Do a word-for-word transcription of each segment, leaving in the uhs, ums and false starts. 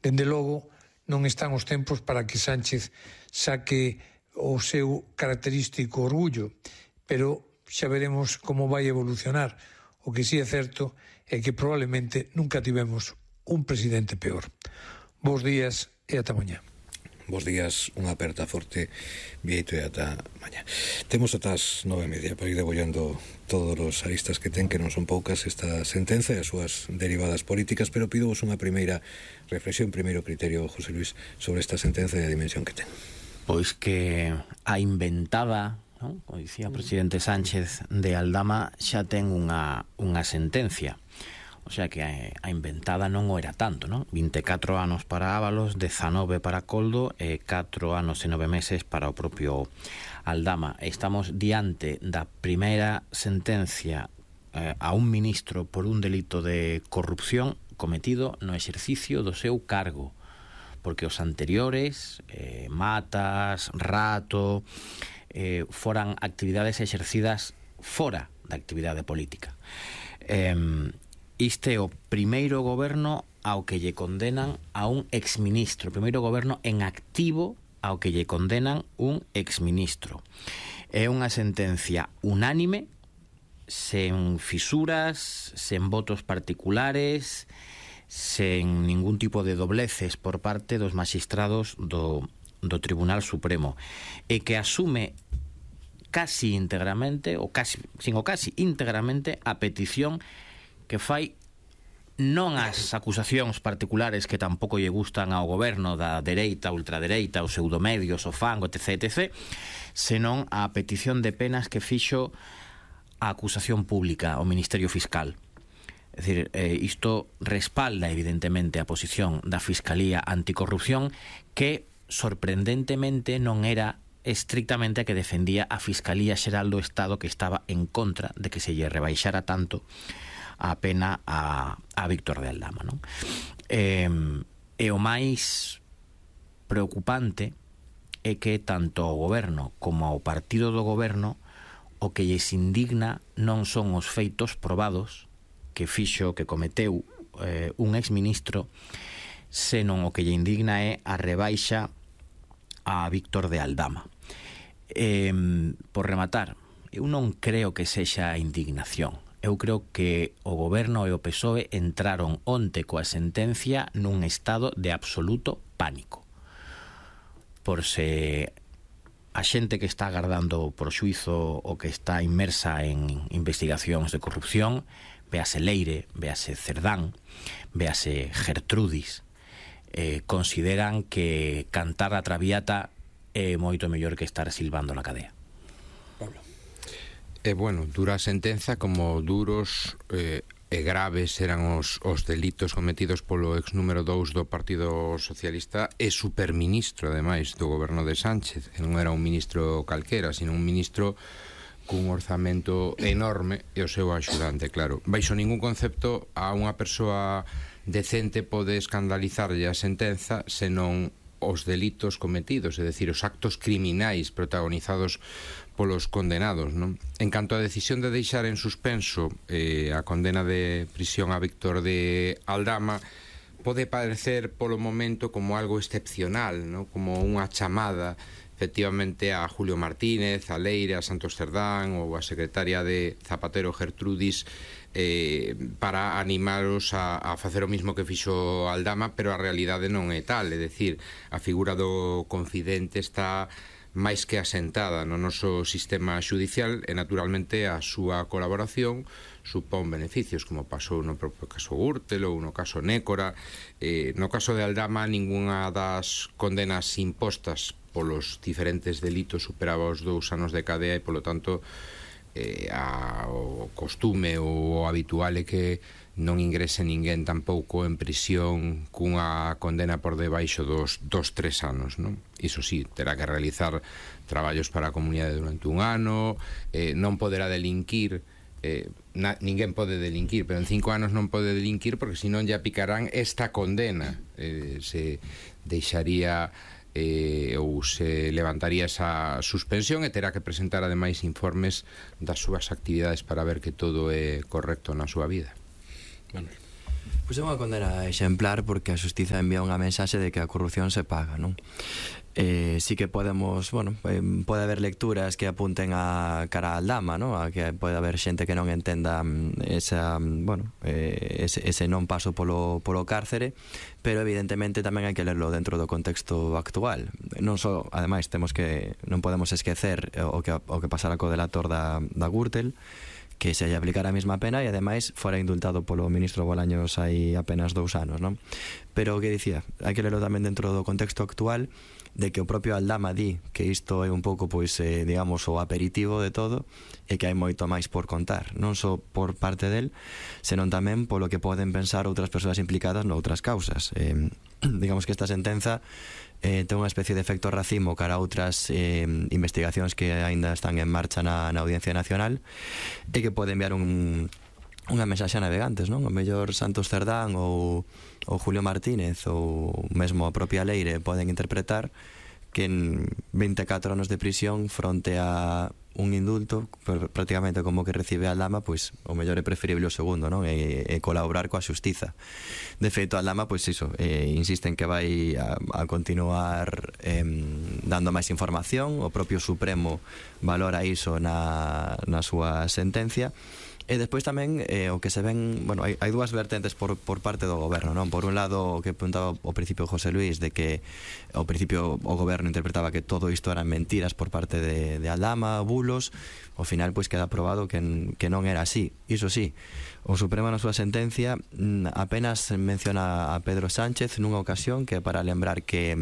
Dende logo, non están os tempos para que Sánchez saque o seu característico orgullo, pero xa veremos como vai evolucionar. O que sí é certo é que probablemente nunca tivemos un presidente peor. Bos días e ata mañá. Bos días, unha aperta forte, Bieito, e ata mañá. Temos ata as nove e media para ir degollando todos os aristas que ten, que non son poucas, esta sentenza e as súas derivadas políticas, pero pidovos unha primeira reflexión, primeiro criterio, José Luis, sobre esta sentenza e a dimensión que ten. Pois que a inventada, non? Como dicía o presidente Sánchez, de Aldama xa ten unha, unha sentencia. O sea que a inventada non o era tanto, non? vinte e catro anos para Ábalos, dezanove para Coldo e catro anos e nove meses para o propio Aldama. Estamos diante da primeira sentencia eh, a un ministro por un delito de corrupción cometido no exercicio do seu cargo, porque os anteriores, eh, Matas, Rato, eh, foran actividades exercidas fora da actividade política. Eh, Este é o primeiro goberno ao que lle condenan a un exministro, o primeiro goberno en activo ao que lle condenan un exministro. É unha sentencia unánime, sen fisuras, sen votos particulares, sen ningún tipo de dobleces por parte dos magistrados do, do Tribunal Supremo, e que asume casi íntegramente, ou casi, sin o casi íntegramente, a petición que fai non as acusacións particulares que tampouco lle gustan ao goberno da dereita, ultradereita, os pseudomedios, o fango, etc, etc, senón a petición de penas que fixo a acusación pública, o Ministerio Fiscal. É dicir, eh, isto respalda evidentemente a posición da Fiscalía Anticorrupción, que sorprendentemente non era estrictamente a que defendía a Fiscalía Xeral do Estado, que estaba en contra de que se lle rebaixara tanto a pena a, a Víctor de Aldama, non? E, e o máis preocupante é que tanto o goberno como ao partido do goberno o que lles indigna non son os feitos probados que fixo, que cometeu eh, un exministro, senón o que lle indigna é a rebaixa a Víctor de Aldama. E, por rematar, eu non creo que sexa indignación. Eu creo que o goberno e o P S O E entraron onte coa sentencia nun estado de absoluto pánico. Por se a xente que está agardando por xuízo ou que está inmersa en investigacións de corrupción, véase Leire, véase Cerdán, véase Gertrudis, eh, consideran que cantar a Traviata é moito mellor que estar silbando na cadea. Pablo. E, bueno, dura a sentenza, como duros eh, e graves eran os, os delitos cometidos polo ex número dous do Partido Socialista e superministro, ademais, do goberno de Sánchez. Non era un ministro calquera, sino un ministro cun orzamento enorme e o seu axudante, claro. Baixo ningún concepto a unha persoa decente pode escandalizarlle a sentenza senón os delitos cometidos, é dicir, os actos criminais protagonizados polos condenados, non? En canto á decisión de deixar en suspenso eh, a condena de prisión a Víctor de Aldama, pode parecer polo momento como algo excepcional, non? Como unha chamada efectivamente a Julio Martínez, a Leire, a Santos Cerdán ou a secretaria de Zapatero, Gertrudis, eh, para animaros a, a facer o mismo que fixo Aldama, pero a realidade non é tal, é dicir, a figura do confidente está máis que asentada no noso sistema xudicial e naturalmente a súa colaboración supón beneficios, como pasou no propio caso Gürtel ou no caso Nécora. Eh, no caso de Aldama, ningunha das condenas impostas polos diferentes delitos superaba os dous anos de cadea e, polo tanto, eh, a, o costume ou o habitual é que non ingrese ninguén tampouco en prisión cunha condena por debaixo dos, dos tres anos, non? Iso sí, terá que realizar traballos para a comunidade durante un ano, eh, non poderá delinquir, eh, na, ninguén pode delinquir, pero en cinco anos non pode delinquir porque senón ya picarán esta condena, eh, se deixaría eh, ou se levantaría esa suspensión e terá que presentar ademais informes das súas actividades para ver que todo é correcto na súa vida. Manuel. Pois é unha condena exemplar porque a xustiza envía unha mensaxe de que a corrupción se paga, non? Eh, sí que podemos, bueno, eh, pode haber lecturas que apunten a cara a Aldama, ¿no? A que pode haber xente que non entenda esa, bueno, eh, ese, ese non paso polo, polo cárcere, pero evidentemente tamén hai que lerlo dentro do contexto actual. Non só, ademais, temos que non podemos esquecer o que o que pasara co delator da, da Gürtel, que se lle aplicara a mesma pena e ademais fora indultado polo ministro Bolaños hai apenas dous anos, non? Pero o que dicía, hai que lerlo tamén dentro do contexto actual, de que o propio Aldama di que isto é un pouco, pois, eh, digamos, o aperitivo de todo e que hai moito máis por contar, non só por parte del, senón tamén polo que poden pensar outras persoas implicadas noutras causas. Eh, digamos que esta sentenza eh, ten unha especie de efecto racimo cara a outras eh, investigacións que aínda están en marcha na, na Audiencia Nacional e que pode enviar un unha mensaxe a navegantes, non? O mellor Santos Cerdán ou, ou Julio Martínez ou mesmo a propia Leire poden interpretar que en vinte e catro anos de prisión fronte a un indulto prácticamente como que recibe Aldama, pois o mellor é preferible o segundo, non? E, e colaborar coa xustiza. De feito, Aldama, pois iso, eh, insiste en que vai a, a continuar eh, dando máis información, o propio Supremo valora iso na, na súa sentencia. E despois tamén eh, o que se ven, bueno, hai, hai dúas vertentes por, por parte do goberno, non? Por un lado, o que apuntaba ao principio José Luis, de que ao principio o goberno interpretaba que todo isto eran mentiras por parte de, de Aldama, bulos. Ao final, pois, queda probado que, que non era así. Iso sí, o Supremo na súa sentencia apenas menciona a Pedro Sánchez nunha ocasión, que é para lembrar que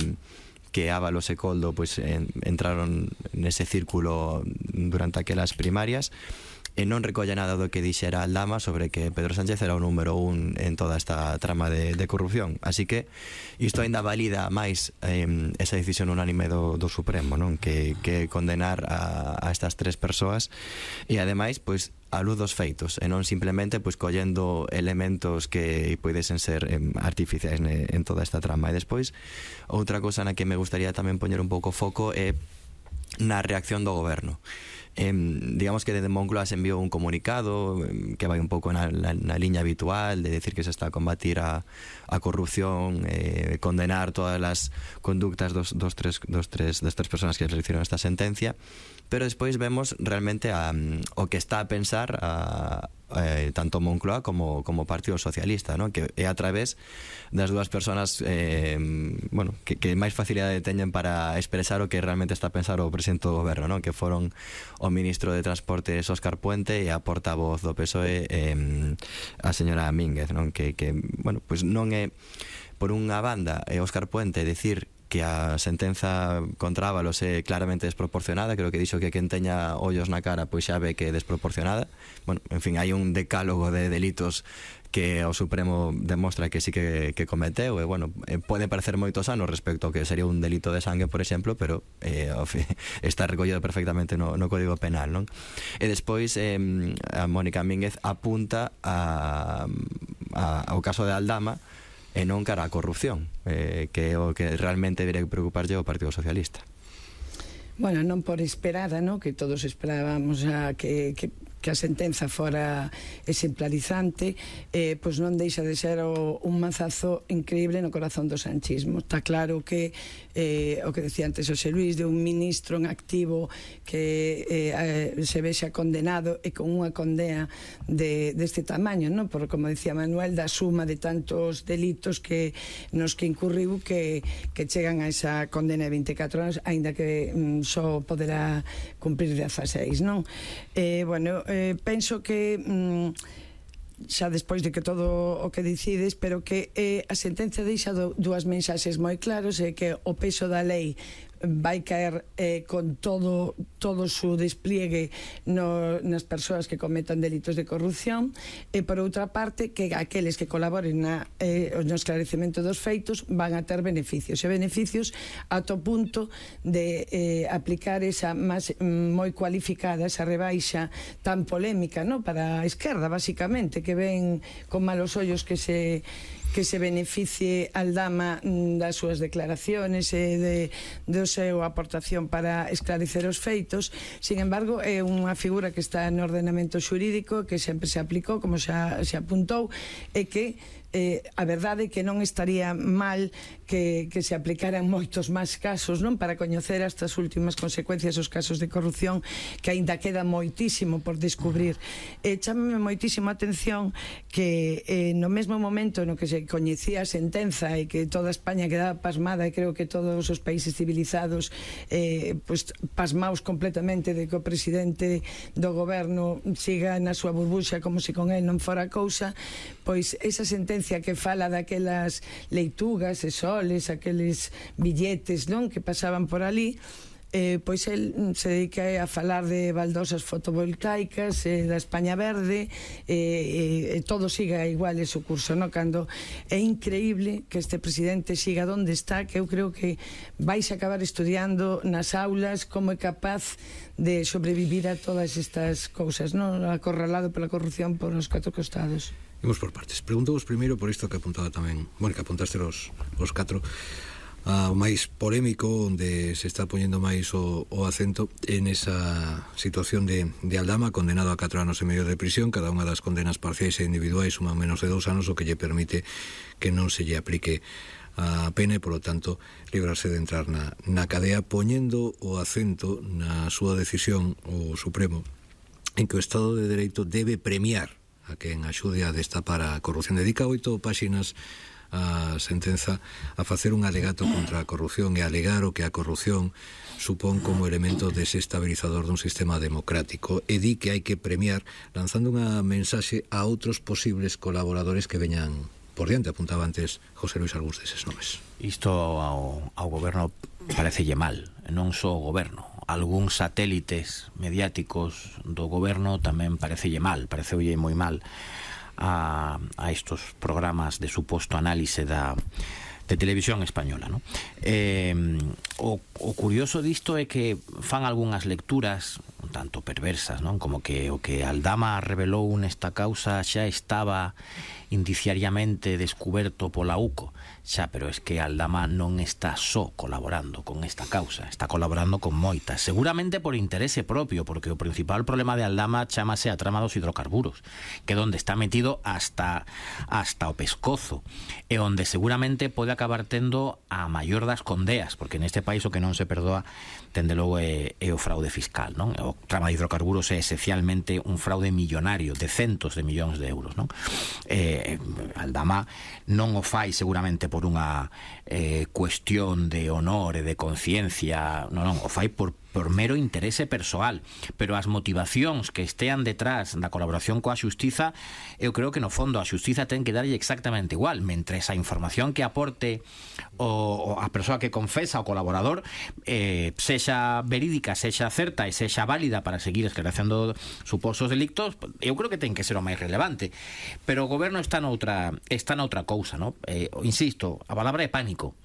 que Ábalos e Coldo, pois, en, entraron nese círculo durante aquelas primarias, e non recolle nada do que dixera Aldama sobre que Pedro Sánchez era o número un en toda esta trama de, de corrupción. Así que isto ainda valida máis eh, esa decisión unánime do, do Supremo, non? Que, que condenar a, a estas tres persoas e ademais, pois, a luz dos feitos e non simplemente, pois, collendo elementos que podesen ser eh, artificiais ne, en toda esta trama. E despois, outra cosa na que me gustaría tamén poñer un pouco foco é na reacción do goberno. Eh, digamos que desde Moncloa se enviou un comunicado eh, que vai un pouco na, na, na liña habitual de decir que se está a combatir a, a corrupción, eh, condenar todas as conductas dos, dos, tres, dos tres, das tres personas que recibieron esta sentencia, pero despois vemos realmente a, o que está a pensar a, eh, tanto Moncloa como, como Partido Socialista, ¿no? Que é a través das dúas persoas eh, bueno, que, que máis facilidade teñen para expresar o que realmente está a pensar o presidente do goberno, ¿no? Que foron o ministro de Transportes Óscar Puente e a portavoz do P S O E eh, a señora Mínguez, ¿no? Que, que bueno, pues non é por unha banda é Óscar Puente decir que a sentenza contra Ábalos é claramente desproporcionada, creo que dixo que quen teña ollos na cara pois xa ve que é desproporcionada. Bueno, en fin, hai un decálogo de delitos que o Supremo demostra que sí que, que cometeu e, bueno, eh, pode parecer moitos anos respecto ao que sería un delito de sangue, por exemplo, pero eh, está recollido perfectamente no, no Código Penal, non? E despois eh, a Mónica Mínguez apunta a, a, ao caso de Aldama e non cara a corrupción, eh, que é o que realmente debería preocuparlle ao Partido Socialista. Bueno, non por esperada, ¿no? Que todos esperábamos a que, que, que a sentenza fora exemplarizante, eh, pois non deixa de ser o, un mazazo increíble no corazón do sanchismo. Está claro que eh, o que decía antes José Luis, de un ministro en activo que eh, se vexa condenado e con unha condena de, deste tamaño, ¿no? Por, como decía Manuel, da suma de tantos delitos que nos que incurriu que, que chegan a esa condena de vinte e catro anos, aínda que mm, só poderá cumprir dezaseis, non? Eh, bueno, eh, penso que mm, xa despois de que todo o que decides, pero que eh, a sentencia deixa do, dúas mensaxes moi claros, e que o peso da lei vai caer eh, con todo todo o seu despliegue no, nas persoas que cometan delitos de corrupción, e por outra parte que aqueles que colaboren na, eh, no esclarecemento dos feitos van a ter beneficios, e beneficios ata o punto de eh, aplicar esa máis, moi cualificada, esa rebaixa tan polémica, ¿no? Para a esquerda, basicamente, que ven con malos ollos que se que se beneficie Aldama das súas declaraciones e de, de seu aportación para esclarecer os feitos. Sin embargo, é unha figura que está no ordenamento xurídico, que sempre se aplicou, como xa se apuntou, e que eh, a verdade é que non estaría mal que, que se aplicaran moitos máis casos, non, para coñecer estas últimas consecuencias dos casos de corrupción, que aínda queda moitísimo por descubrir. Eh, chámame moitísimo a atención que eh, no mesmo momento no que se coñecía a sentenza e que toda España quedaba pasmada, e creo que todos os países civilizados eh, pues, pasmaos completamente de que o presidente do goberno siga na súa burbuxa como se con él non fora cousa, pois esa sentencia que fala daquelas leitugas e soles, aqueles billetes, non, que pasaban por ali, eh, pois el se dedica a falar de baldosas fotovoltaicas, eh, da España verde, e eh, eh, todo siga igual ese curso, non? Cando é increíble que este presidente siga onde está, que eu creo que vais acabar estudiando nas aulas como é capaz de sobrevivir a todas estas cousas, non? Acorralado pola corrupción por os catro costados. Imos por partes. Preguntamos primeiro por isto que apuntaba tamén, bueno, que apuntaste os, os catro, Uh, o máis polémico, onde se está poñendo máis o, o acento en esa situación de, de Aldama, condenado a catro anos e medio de prisión. Cada unha das condenas parciais e individuais suman menos de dous anos, o que lle permite que non se lle aplique a pena e, polo tanto, librarse de entrar na, na cadea, poñendo o acento na súa decisión o Supremo en que o Estado de Dereito debe premiar a quen axude a destapar a corrupción. Dedica oito páxinas a sentenza a facer un alegato contra a corrupción e alegar o que a corrupción supón como elemento desestabilizador dun sistema democrático, e di que hai que premiar lanzando unha mensaxe a outros posibles colaboradores que veñan por diante. Apuntaba antes José Luis algúns deses nomes. Isto ao, ao goberno parecelle mal, non só o goberno, algúns satélites mediáticos do goberno tamén parecelle mal, pareceulle moi mal a, a estos programas de suposto análise da de televisión española, ¿no? Eh, o, o curioso disto é que fan algunhas lecturas un tanto perversas, non? Como que o que Aldama revelou nesta causa xa estaba indiciariamente descuberto pola U C O. Xa, pero es que Aldama non está só colaborando con esta causa, está colaborando con moitas, seguramente por interese propio, porque o principal problema de Aldama chámase a trama dos hidrocarburos, que é onde está metido hasta hasta o pescozo, e onde seguramente pode acabar tendo a maior das condeas, porque neste país o que non se perdoa, tende logo, é, é o fraude fiscal, non? O trama de hidrocarburos é esencialmente un fraude millonario de centos de millóns de euros, non? Eh, Aldama non o fai seguramente por unha eh, cuestión de honor e de conciencia, non, non, o fai por por mero interese persoal, pero as motivacións que estean detrás da colaboración coa xustiza, eu creo que no fondo a xustiza ten que darlle exactamente igual, mentres a información que aporte o, o a persoa que confesa o colaborador eh, sexa verídica, sexa certa e sexa válida para seguir esclarecendo suposos delictos, eu creo que ten que ser o máis relevante. Pero o goberno está noutra, está noutra cousa, ¿no? Eh, insisto, a palabra é pánico.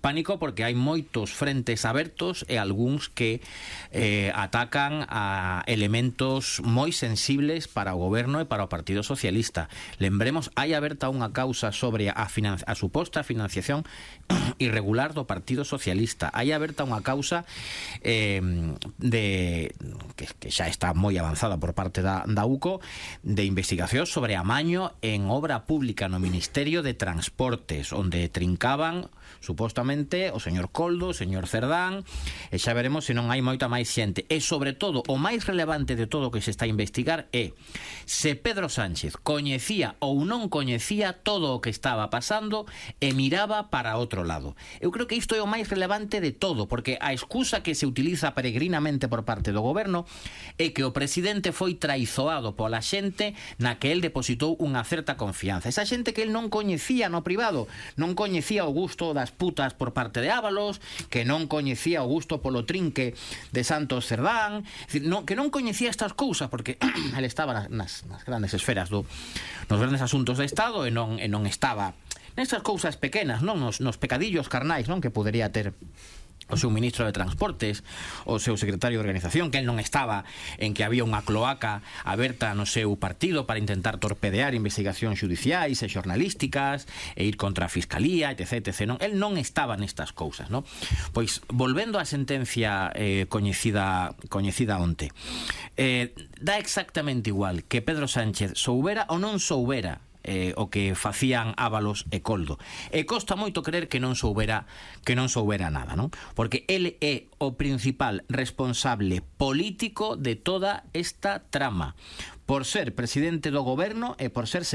Pánico porque hai moitos frentes abertos e algúns que eh, atacan a elementos moi sensibles para o goberno e para o Partido Socialista. Lembremos, hai aberta unha causa sobre a, a suposta financiación irregular do Partido Socialista. Hai aberta unha causa eh, de que, que xa está moi avanzada por parte da, da U C O, de investigación sobre amaño en obra pública no Ministerio de Transportes, onde trincaban supostamente o señor Coldo, o señor Cerdán, e xa veremos se non hai moita máis xente. E sobre todo, o máis relevante de todo o que se está a investigar é se Pedro Sánchez coñecía ou non coñecía todo o que estaba pasando e miraba para outro lado. Eu creo que isto é o máis relevante de todo, porque a excusa que se utiliza peregrinamente por parte do goberno é que o presidente foi traizoado pola xente na que el depositou unha certa confianza. Esa xente que el non coñecía no privado, non coñecía o gusto das putas por parte de Ábalos, que non coñecía o gusto polo trinque de Santos Cerdán, que non coñecía estas cousas, porque el estaba nas, nas grandes esferas do, nos grandes asuntos de Estado e non, e non estaba nestas cousas pequenas, non nos, nos pecadillos carnais, non, que podería ter o seu ministro de Transportes, o seu secretario de Organización, que el non estaba en que había unha cloaca aberta no seu partido para intentar torpedear investigacións xudiciais e xornalísticas e ir contra a Fiscalía, etc, etcétera. Non, el non estaba nestas cousas, non? Pois, volvendo á sentencia eh, coñecida, coñecida onte, eh, dá exactamente igual que Pedro Sánchez soubera ou non soubera eh, o que facían Ábalos e Coldo. E costa moito creer que non soubera que non soubera nada, non? Porque ele é o principal responsable político de toda esta trama, por ser presidente do goberno e por ser secretario